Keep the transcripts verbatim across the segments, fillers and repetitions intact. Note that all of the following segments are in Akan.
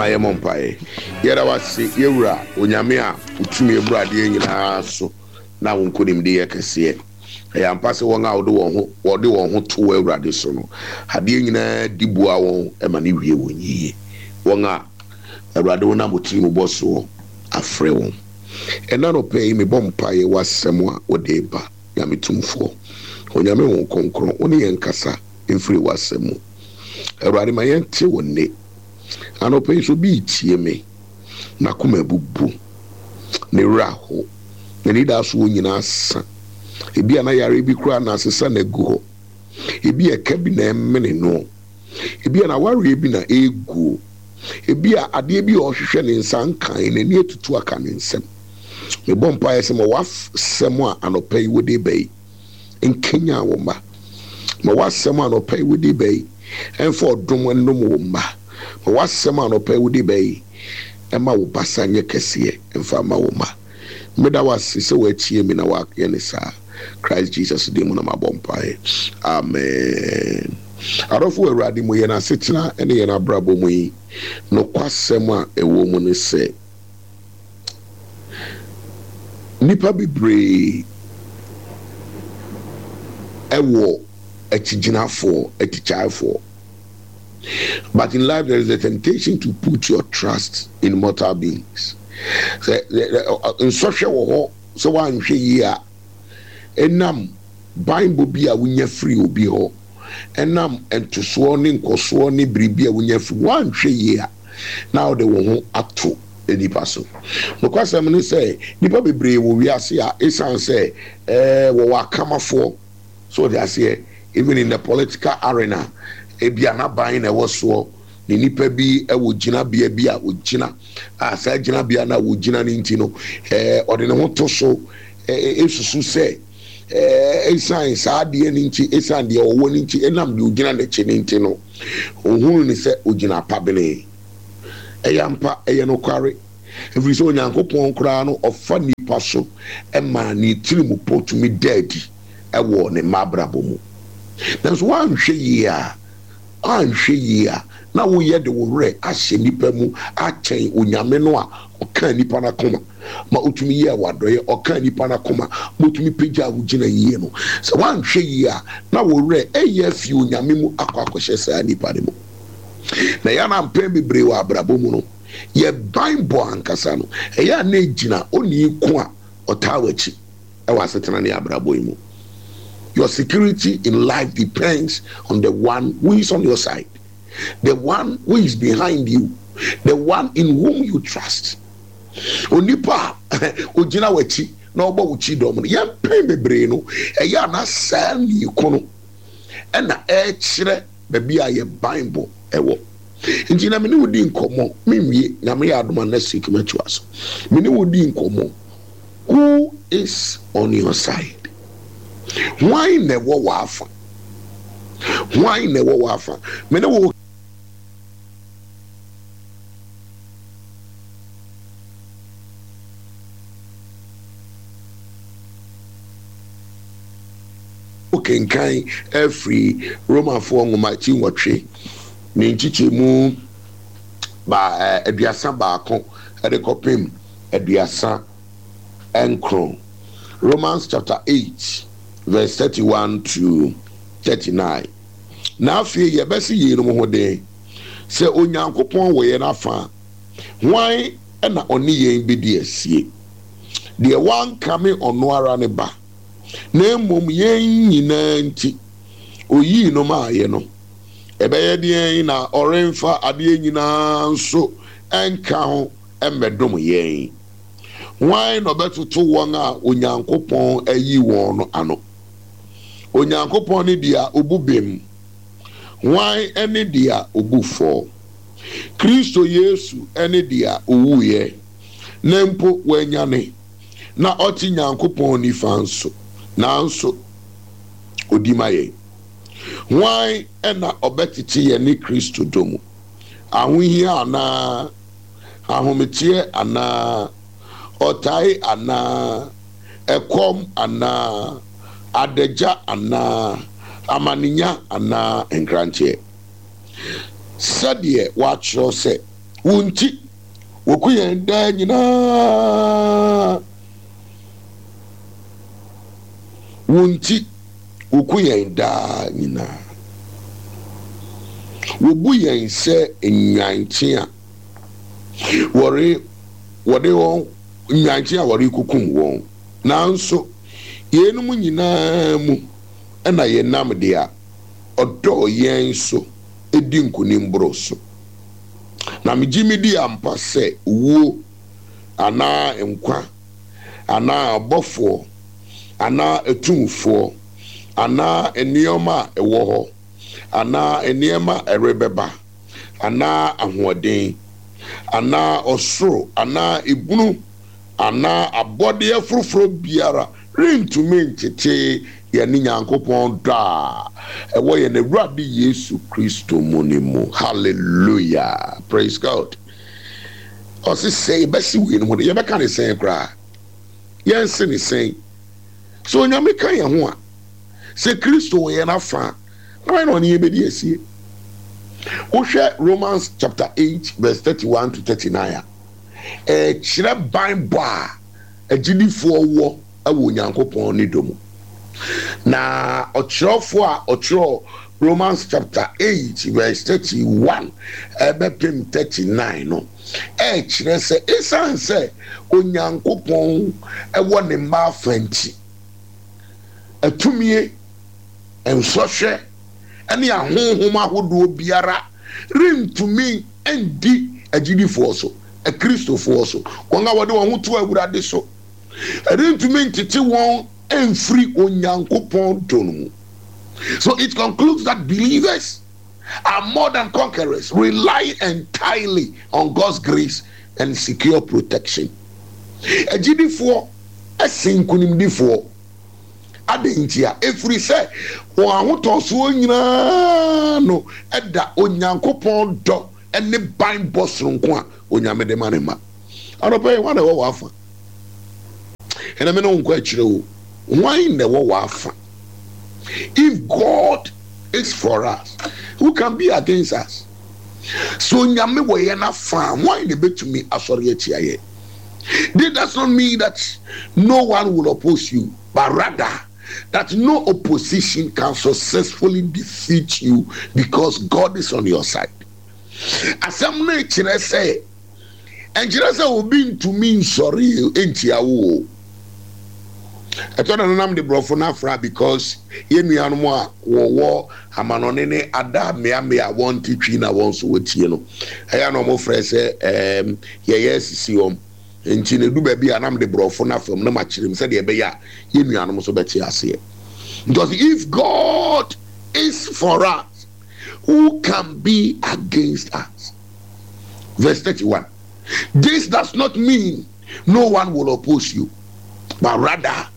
Yɛmmɔ mpaeɛ. Yɛda wase, yɛwura Onyame a wotumi aburu adeɛ nyinaa so na wo nkonimdi yɛ kɛseɛ. Ɛyɛ ampa sɛ wɔn a wɔde wɔn ho wɔde wɔn ho to wɔ Awurade so no, adeɛ nyinaa di boa wɔn ma ne wie wɔn yie. Wɔn a Awurade wo nam tiri mu bɔ soɔ afrɛ wɔn. Ɛna nɔpɛ yi, mebɔ mpaeɛ wɔ asɛm a wɔde ba. Nyame tumfoɔ, Onyame wo Kronkron, wo ne yɛn kasa mfiri w'asɛm mu. Awurade, ma yɛnte wo nne. Anɔpɛ yi so bi tie me, n'akoma abubu, ne werɛ aho, n'ani da so wɔ nyinaa sa. Ebi a na yare bi koraa na asesa na agu hɔ, ebi a ɛka bi na ɛmene no, ebi a na awareɛ bi na ɛreguo, ebi a adeɛ bi a ɔhwehwɛ ne nsa nkan, n'ani atutu aka ne nsam. Mebɔ mpaeɛ sɛ ma w'asɛm a anɔpa yi wode ba yi nkenya wo mma. Ma w'asɛm a anɔpa yi wode ba yi ɛmfa ɔdom nnom wo mma. Ma w'asɛm a anɔpa yi wode ba yi ɛma wo basa nyɛ kɛseɛ ɛmfa ma wo mma. Meda w'ase sɛ woatie me na woayɛ ne saa. Christ Jesus din mu na mabɔ mpaeɛ, amen. Adɔfo, Awurade mu, yɛn asetena ne yɛn abrabɔ mu yi, nokwasɛm a ɛwɔ mu ne sɛ nnipa bebree ɛwɔ akyigyinafoɔ, atikyaefoɔ, but in life there is a temptation to put your trust in mortal beings. Sɛ nsɔhwɛ wɔ hɔ sɛ woanhwɛ yie a, ɛnam banbɔ bi a wonya firi obi hɔ, ɛnam ntosoɔ ne nkɔsoɔ ne biribi a wonya firi, woanhwɛ yie a, na wode wo ho ato nipa so. Nokwasɛm ne sɛ nipa bebree wɔ wiase a ɛsiane sɛ ɛɛ wɔwɔ akamafoɔ so, wɔde aseɛ, even in the political arena, ebi anaban na ɛwɔ soɔ ne nipa bi ɛwɔ gyinabea bi a ogyina a, saa gyinabea no a wogyina no nti no, ɛɛ ɔde ne ho to so, ɛɛ esusu sɛ ɛɛ esan saa adeɛ no nti, esan deɛ ɔwɔ no nti, ɛnam deɛ ogyina n'akyi no nti no, ohunu ne sɛ ogyina apabene. Ɛyɛ ampa, ɛyɛ nokware, ɛfiri sɛ Onyankopɔn koraa no ɔfa nipa so ɛma ne tiri mu po tumi da adi ɛwɔ ne mma abrabɔ mu. Nanso woanhwɛ yie a woanhwɛ yie a na woyɛ de wo werɛ ahyɛ nipa mu akyɛn Onyame no a ɔka nipa no akoma ma otumi yɛ wadɔyɛ, ɔka nipa no akoma ma otumi pagya a wogyina yie no. Sɛ woanhwɛ yie a, na wo werɛ ɛyɛ afi Onyame mu akɔ akɔhyɛ saa nipa no mu. Na yɛn mpɛn bebree wɔ abrabɔ mu no, yɛ banbɔ ankasa no, ɛyɛ a na egyina onii ko a ɔtaa w'akyi ɛwɔ asetena ne abrabɔ yi mu. Your security in life depends on the one who is on your side, the one who is behind you, the one in whom you trust. Onipa a ogyina w'akyi na ɔbɔ wo kyi dɔm no, yɛn mpɛn bebree no, ɛyɛ a na saa nii ko no ɛna ɛrekyerɛ baabi a yɛ banbɔ ɛwɔ. Nti na mene wo di nkɔmmɔ, menwie. Nyame yɛ adom a, next week mɛtoa so. Mene wo di nkɔmmɔ, who is on your side? Hwan na ɛwɔ w'afa? Hwan na ɛwɔ w'afa? Mene wo kenkan afiri Romafoɔ nwoma ti nwɔtwe ne nkyekyɛmu ba ɛɛ aduasa baako ɛde kɔpem aduasa nkron, Romans chapter eight verse thirty-one to thirty-nine. Na afei yɛbɛsi yeinom ho den: sɛ Onyankopɔn wɔ yɛn afa a, hwan ɛna ɔne yɛn bɛdi asie? Deɛ wankame ɔno ara ne ba, na mmom yɛn nyinaa nti oyii no maayɛ no, ɛbɛyɛ deɛn na ɔremfa adeɛ nyinaa nso ɛnka ho ɛmmɛdom yɛn? Hwan na ɔbɛtoto wɔn a Onyankopɔn ayi wɔn no ano? Onyankopɔn ne deɛ obu bem. Hwan ne deɛ obu fɔ? Kristo Yesu ne deɛ owuiɛ, na mpo wanyane, na ɔte Nyankopɔn nifa nso, nanso odi ma yɛn. Hwan na ɔbɛtete yɛn ne Kristo dɔ mu? Ahohia anaa ahometeɛ anaa ɔtae anaa ɛkɔm anaa adagya anaa amanenya anaa nkranteɛ? Sɛdeɛ wɔatwerɛ sɛ, Wo nti, wɔku yɛn daa nyinaa. Wo nti, wɔku yɛn daa nyinaa. Wɔbu yɛn sɛ nnwankye a wɔre wɔde wɔn nnwankye a wɔrekukum wɔn. Nanso, yeinom nyinaa mu ɛna yɛnam deɛ ɔdɔɔ yɛn so edi nkonim boro so. Na megye me di ampa sɛ owuo anaa nkwa anaa abɔfoɔ anaa atumfoɔ anaa nneɛma a ɛwɔ hɔ anaa nneɛma a ɛrebɛba anaa ahoɔden anaa ɔsoro anaa ebunu anaa abɔdeɛ foforɔ biara rentumi ntete yɛne Nyankopɔn dɔ a ɛwɔ yɛn Awurade Yesu Kristo mu ne mu. Hallelujah, praise God. Ɔse sɛ yɛbɛsi wei no ho de, yɛbɛka ne sɛn koraa? Yɛnse ne sɛn? Sɛ Onyame ka yɛn ho a, sɛ Kristo wɔ yɛn afa a, na wɔn na ɔne yɛn bɛdi asie. Wohwɛ Romans chapter eight verse thirty-one to thirty-nine a, ɛkyerɛ banbɔ a agyidifoɔ wɔ ɛwɔ Onyankopɔn ne dɔ mu. Na ɔkyerɛwfoɔ a ɔkyerɛw Romans chapter eight verse thirty-one ɛbɛpem thirty-nine no, ɛkyerɛ sɛ ɛsiane sɛ Onyankopɔn ɛwɔ ne mma afa nti, atumie, nsɔhwɛ, ɛne ahonhom ahodoɔ biara rentumi ndi agyidifoɔ so, akristofoɔ so, wɔn a wɔde wɔn ho to Awurade so. Ɛrentumi ntete wɔn mfiri Onyankopɔn dɔ no mu. So it concludes that believers are more than conquerors, relying entirely on God's grace and secure protection. Agyidifoɔ ɛsen nkonimdifoɔ. Adɛn nti a? Ɛfiri sɛ wɔn ahotɔsoɔ nyinaa no ɛda Onyankopɔn dɔ ne banbɔ soronko a Onyame de ma ne ma. Anɔpa yi, hwan na ɛwɔ w'afa? Ɛna me ne wo nkɔ akyire o. Hwan na ɛwɔ w'afa? If God is for us, who can be against us? So Onyame wɔ yɛn afa, hwan na ebetumi asɔre atia yɛn? This does not mean that no one will oppose you, but rather that no opposition can successfully defeat you because God is on your side. Asɛm no kyerɛ sɛ, ɛnkyerɛ sɛ obi ntumi nsɔre ntia wo o. Ɛtɔ da nanam de borɔfo no afra because yɛn nuanom a wɔwɔ amanɔne ne ada mmeammea a wɔnte Twi na wɔn nso wɔtie no, ɛyɛ na wɔfrɛ sɛ ɛɛm yɛyɛ asisi wɔn. Nti na edu baabi a nam de borɔfo no afam na makyerɛ mu sɛdeɛ ɛbɛyɛ a yɛn nuanom nso bɛte aseɛ. Because if God is for us, who can be against us? Verse thirty-one. This does not mean no one will oppose you, but rather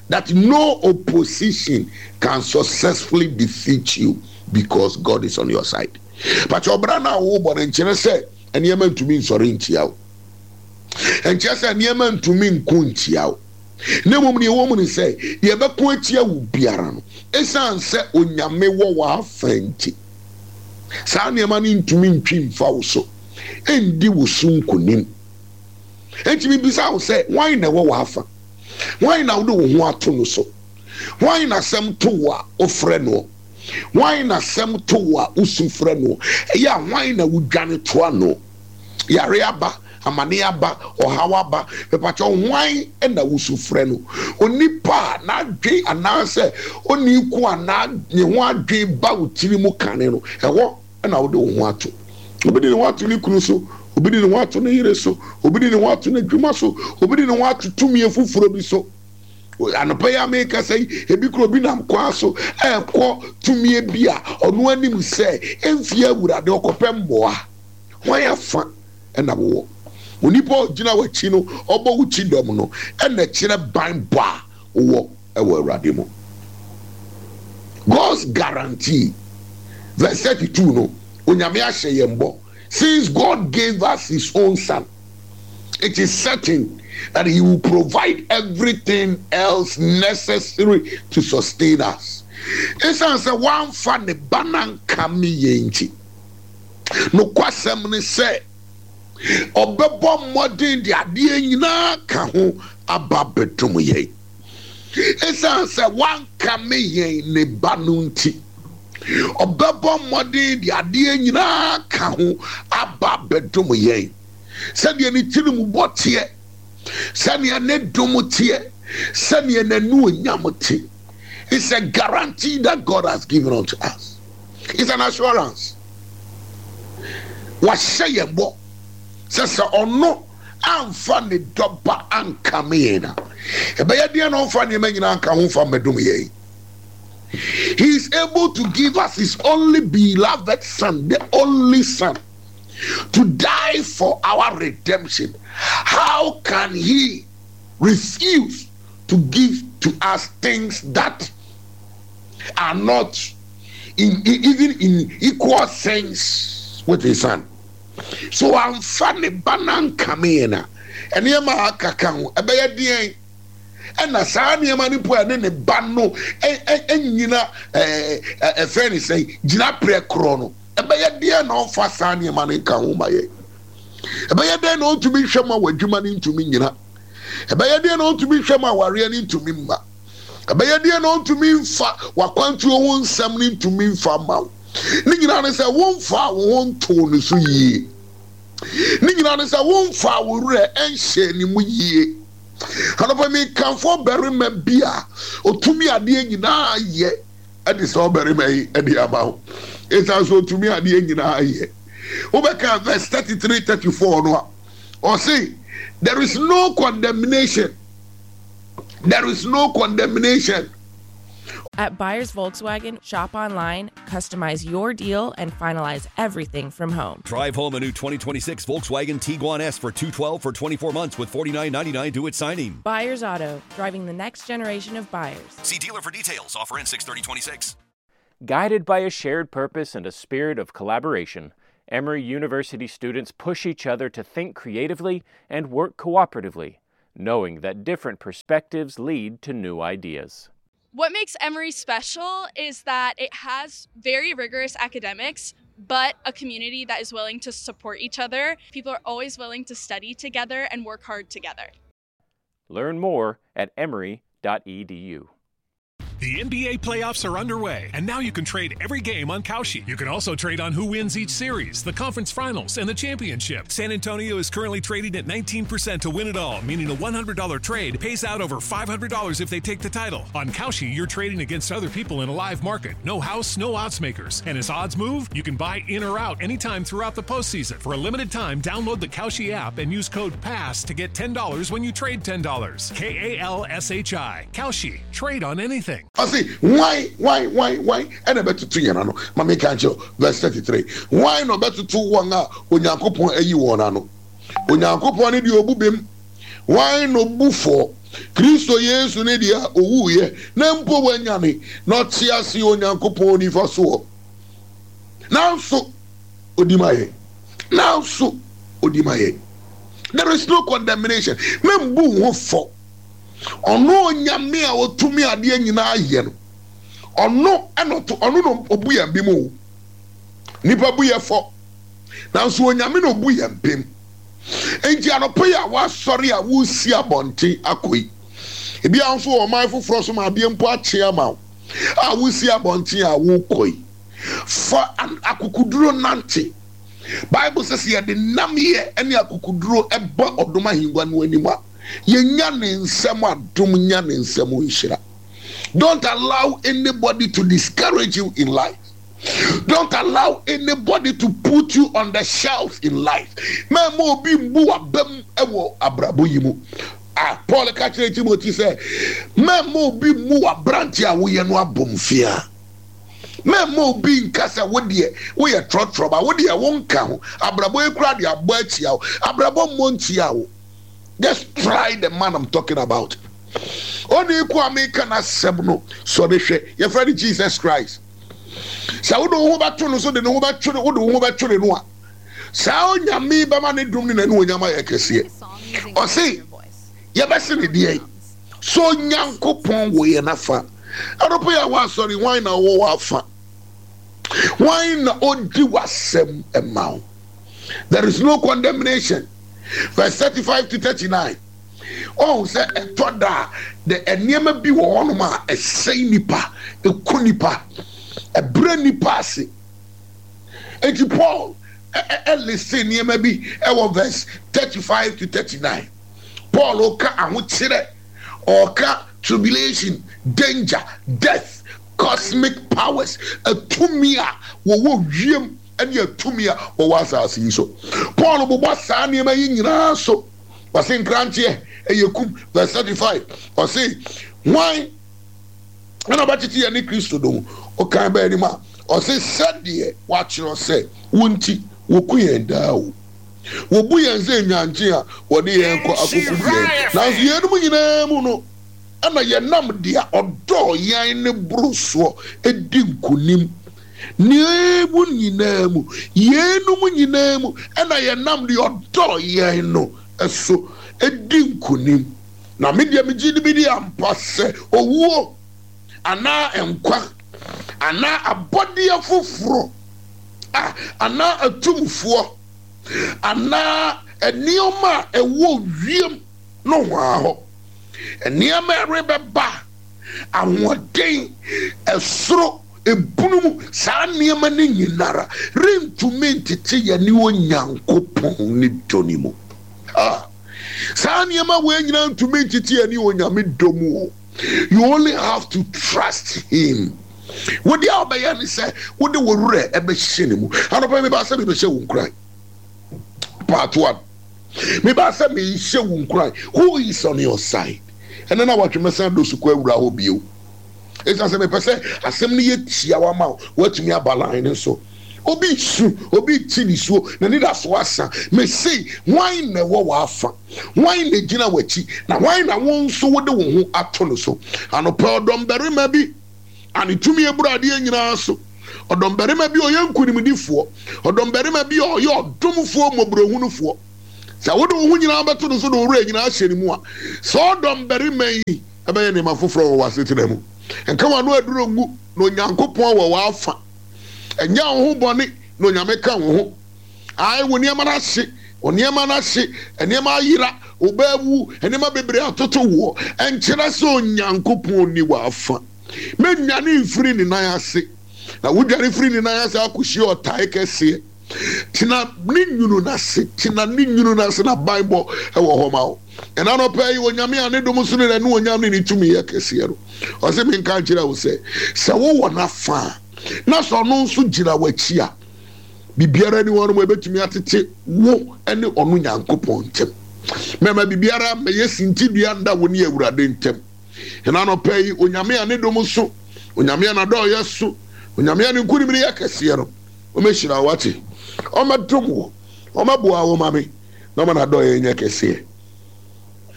that no opposition can successfully defeat you because God is on your side. But your brother now, wo bɔ nkyerɛ sɛ nneɛma ntumi nsɔre ntia wo. Nkyerɛ sɛ nneɛma ntumi nko ntia wo. Na mmom nea ɛwɔ mu ne sɛ deɛ ɛbɛko atia wo biara no, ɛsiane sɛ Onyame wɔ w'afa nti, saa nneɛma no ntumi ntwi mfa wo so, ɛndi wo so nkonim. Enti mibisa wo sɛ, hwan na ɛwɔ w'afa? Hwan na wode wo ho ato no so? Hwan na asɛm to wo a wofrɛ no? Hwan na asɛm to wo a wosu frɛ no? Ɛyɛ a hwan na wodwane toa no? Yare aba, amane aba, ɔhaw aba, mepakyɛ hwan na wosu frɛ no? Onipa a n'adwen anaasɛ oni ko anaa ne ho adwen ba wo tiri mu kane no, ɛhɔ na wode wo ho ato. Obi de ne ho ato ne kunu so, obi de ne ho ato ne yere so, obi de ne ho ato n'adwuma so, obi de ne ho ato tumi foforɔ bi so. Anɔpa yi a mekasa yi, ebi kura obi nam kwan so ɛrekɔ tumi bi a ɔno anim sɛ ɛmfie Awurade ɔkɔpɛ mmoa. Hwan afa ɛna wowɔ? Onipa a ɔgyina w'akyi no, ɔbɔ wo kyi dɔm no, ɛna kyerɛ ban bɔ a wowɔ ɛwɔ Awurade mu. God's guarantee. Verse thirty-two no, Onyame ahyɛ yɛn bɔ. Since God gave us his own son, it is certain that he will provide everything else necessary to sustain us. Ɛsiane sɛ wamfa ne ba no ankame yɛn nti, nokwasɛm ne sɛ Ɔbɛbɔ mmɔden de adeɛ nyinaa ka ho aba abɛdom yɛn. Esiane sɛ wankame yɛn ne ba no nti, ɔbɛbɔ mmɔden de adeɛ nyinaa ka ho aba abɛdom yɛn. Sɛdeɛ ne tirimubɔ teɛ, sɛdeɛ ne dom teɛ, sɛdeɛ n'anuonyam te. It's a guarantee that God has given unto us. It's an assurance. Wahyɛ yɛn bɔ sɛ sɛ ɔno amfa ne dɔba ankame yɛn a, ɛbɛyɛ deɛ na ɔmfa nneɛma nyinaa nka ho mfa mmɛdom yɛn. He is able to give us his only beloved son, the only son, to die for our redemption. How can he refuse to give to us things that are not in, in, even in equal sense with his son? So amfa ne ba no ankame yɛn a, nneɛma a aka ka ho ɛbɛyɛ deɛn ɛna saa nneɛma no po a ɛne ne ba no ɛnyina ɛfɛ ne sɛn gyina prɛ korɔ no, ɛbɛyɛ deɛn na ɔmfa saa nneɛma no nka ho ma yɛ? Ɛbɛyɛ deɛn na ɔntumi nhwɛ ma w'adwuma no ntumi nyina? Ɛbɛyɛ deɛn na ɔntumi nhwɛ ma awareɛ no ntumi mma? Ɛbɛyɛ deɛn na ɔntumi mfa w'akwantuo ho nsɛm no ntumi mfa ma wo? Ne nyinaa ne sɛ womfa wo ho ntoo ne so yie. Ne nyinaa ne sɛ womfa wo werɛ nhyɛ ne mu yie. Anɔpa mekamfo ɔbarima bi a ɔtumi adeɛ nyinaa yɛ ɛde sɛ ɔbarima yi ɛde ama wo. Ɛsiane sɛ ɔtumi adeɛ nyinaa yɛ. Wobɛka verse thirty-three, thirty-four no a, ɔse there is no condemnation. There is no condemnation. At Buyers Volkswagen, shop online, customize your deal, and finalize everything from home. Drive home a new twenty twenty-six Volkswagen Tiguan S for two twelve for twenty-four months with forty-nine ninety-nine due at signing. Buyers Auto, driving the next generation of buyers. See dealer for details. Offer ends six thirty twenty-six. Guided by a shared purpose and a spirit of collaboration, Emory University students push each other to think creatively and work cooperatively, knowing that different perspectives lead to new ideas. What makes Emory special is that it has very rigorous academics, but a community that is willing to support each other. People are always willing to study together and work hard together. Learn more at emory dot e d u. The N B A playoffs are underway, and now you can trade every game on Kalshi. You can also trade on who wins each series, the conference finals, and the championship. San Antonio is currently trading at nineteen percent to win it all, meaning a one hundred dollar trade pays out over five hundred dollars if they take the title. On Kalshi, you're trading against other people in a live market. No house, no odds makers. And as odds move, you can buy in or out anytime throughout the postseason. For a limited time, download the Kalshi app and use code PASS to get ten dollars when you trade ten dollars. K A L S H I. Kalshi. Trade on anything. I say, why, why, why, why? And I better two year no. Mami can't you verse thirty-three. Why no better two one onyankopon eyi won ano. Onyankopon ne de obu bem. Why no bu for Kristo Yesu ne dia owu ye na mpo wanyane na ɔte ase onyankopon ni fa so. Nanso odimaye. Nanso odimaye. There is no condemnation. Membu ho for. Ono onyame a otumi ade nyinaa ye no. Ono eno ono no obu ye bim o. Nipa bu ye fo. Nanso onyame no obu ye bim. Enti anopo ya wa sori a wo si abonten akoi. Ebi anso o man foforo so ma ade mpo ache ama wo. A wo si abonten a wo koi. Fa akukuduro nante. Bible says ye de nam ye ene akukuduro eba odoma hingwa no anima. Ye nya ne nsem adom nya ne nsem nhyira. Don't allow anybody to discourage you in life. Don't allow anybody to put you on the shelf in life. Memo obi mbu abem ewo abrabo yi mu. Ah, Paul ka kyerɛ Timothy sɛ, memo obi mbu abrante a woyɛ no abomfia. Memo obi nka sɛ wo deɛ woyɛ trɔtrɔ ba, wo deɛ wo nka ho. Abrabo ekura de abɔ akyia wo. Abrabo mmɔ ntia wo. Just try the man I'm talking about. Oni ku ameka na sɛm no so ne hwɛ. Your friend Jesus Christ. Sɛ wo de wo ho bɛto no so de ne ho bɛtwere, wo de wo ho bɛtwere no a. Saa onyame bɛma ne dom ne n'ani onyama yɛ kɛseɛ. Ɔse, yɛbɛse ne deɛ. So Nyankopɔn wɔ yɛn afa. Ɛrɔpɔ yɛ wɔ asɔre, hwan na ɔwɔ wɔ afa? Hwan na ɔdi w'asɛm ɛma wo? There is no condemnation. Verse thirty-five to thirty-nine. Ɔhu sɛ ɛtɔ da a, de nneɛma bi wɔ hɔnom a ɛsɛe nipa, ɛku nipa, ɛbrɛ nipa ase. Enti Paul ɛlese nneɛma bi ɛwɔ verse thirty-five to thirty-nine. Paul ɔka ahokyerɛ, ɔka tribulation, danger, death, cosmic powers, atumi a wɔwɔ wiem ɛne atumi a wɔwɔ asase yi so. Paul bobɔ saa nneɛma yi nyinaa so. Ɔse nkranteɛ ɛyɛ kum. Verse thirty-five, ɔse hwan ɛna ɔbɛtete yɛn ne Kristo dɔ mu? Ɔkan bɛɛ anim a, ɔse sɛdeɛ wakyerɛ sɛ wo nti wɔku yɛn daa o, wɔbu yɛn sɛ nnwankye a wɔde yɛn kɔ akokum yɛn. Nanso yɛnum nyinaa mu no, ɛna yɛnam deɛ ɔdɔɔ yɛn ne boro soɔ edi nkonim. Nea mu nyinaa mu, yɛnum nyinaa mu, ɛna yɛnam deɛ ɔdɔɔ yɛn no ɛso edi nkonim. Na me deɛ megye di bi di ampa sɛ owuo anaa nkwa anaa abɔdeɛ foforɔ a anaa atumfoɔ anaa nneɛma a ɛwɔ wiem no hwaa hɔ, nneɛma a ɛrebɛba, ahoɔden, ɛsoro, ebunu mu, saa nneɛma no nyinara rentumi ntete yɛn ne Onyankopɔn ne dɔ ne mu. Ah, saa nneɛma wei nyinaa ntumi ntete yɛn ne Onyame dɔ mu o. You only have to trust him. Wode a wobɛyɛ ne sɛ wode wo werɛ ɛbɛhyɛ ne mu. Anɔpa mebaa sɛ mebɛhyɛ wo nkuran. Part one. Mebaa sɛ mehyɛ wo nkuran. Who is on your side? Ɛnɛ na watwe mɛsan do so kɔ awura hɔ bio. Ɛsiane sɛ mepɛ sɛ asɛm no yɛ tia wa ma wo, woatumi aba line no so. Obi su, obi ti nisuo, n'ani da so asa. Mese, hwan na ɛwɔ w'afa? Hwan na gyina w'akyi? Na hwan na wo nso wode wo ho ato no so? Anɔpa ɔdɔmbarima bi a ne tumi eburu adeɛ nyinaa so. Ɔdɔmbarima bi a ɔyɛ nkonimdifoɔ. Ɔdɔmbarima bi a ɔyɛ ɔdomfoɔ mmɔborɔhunufoɔ. Sɛ wode wo ho nyinaa bɛto no so de wo werɛ nyinaa ahyɛ ne mu a, sɛ ɔdɔmbarima yi ɛbɛyɛ nneɛma foforɔ wɔ w'asetena mu. Nka w'ano aduro ngu na Onyankopɔn wɔ w'afa. Ɛnyɛ wo ho bɔne na Onyame ka wo ho. Ae, wo nneɛma no ahye, wo nneɛma no ahye, nneɛma ayera, wo ba awu, nneɛma bebree atoto woɔ. Ɛnkyerɛ sɛ Onyankopɔn nni w'afa. Mɛnnwane mfiri ne nan ase. Na wodwane firi ne nan ase akɔhyia ɔtae kɛseɛ. Tena ne nwunu n'ase, tena ne nwunu n'ase na banbɔ ɛwɔ hɔ ma wo. Ɛna anɔpa yi, Onyame a ne dom so ne n'anuonyam ne ne tumi yɛ kɛseɛ no, ɔse menka nkyerɛ wo sɛ, sɛ wowɔ n'afa a, na sɛ ɔno nso gyina w'akyi a, biribiara ni hɔ nom a ɛbɛtumi atete wo ne ɔno Nyankopɔn ntam. Mɛma biribiara mmɛyɛ sintidua nda wo ne Awurade ntam. Ɛna anɔpa yi, Onyame a ne dom so, Onyame a n'adɔeɛ so, Onyame a ne nkonimdi yɛ kɛseɛ no, ɔmɛhyira wo ate, ɔmɛdom wo, ɔmɛboa wo ma me, na ɔma n'adɔeɛ nyɛ kɛseɛ.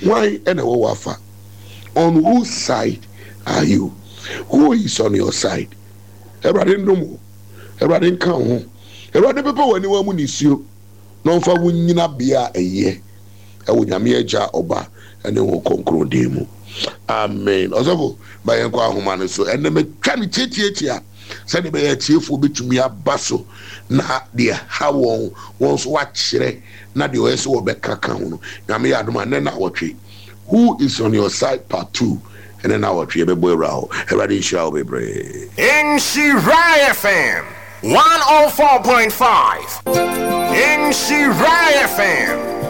Hwan ɛna ɛwɔ w'afa? On whose side are you? Who is on your side? Awurade ndom wo, Awurade nka wo ho, Awurade pepa w'aniwa mu nisuo, na ɔmfa wo nyina bea a ɛyɛ ɛwɔ Nyame Agya, Ɔba ɛne wo Kronkron din mu. Amen. Ɔsɔfo, ma yɛnkɔ ahoma no so. Ɛnɛ metwa ne tiatiatia sɛdeɛ bɛyɛ atiefoɔ bɛtumi aba so na deɛ ha wɔn, wɔn nso wakyerɛ na deɛ ɔyɛ sɛ wɔbɛka ka ho no. Nyame yɛ adom a, nnɛ na awɔtwe. Who is on your side part two. Ɛnɛ na awɔtwe yɛbɛbɔ awura hɔ. Awurade nhyira wo bebree. Nhyira F M one oh four point five. Nhyira F M.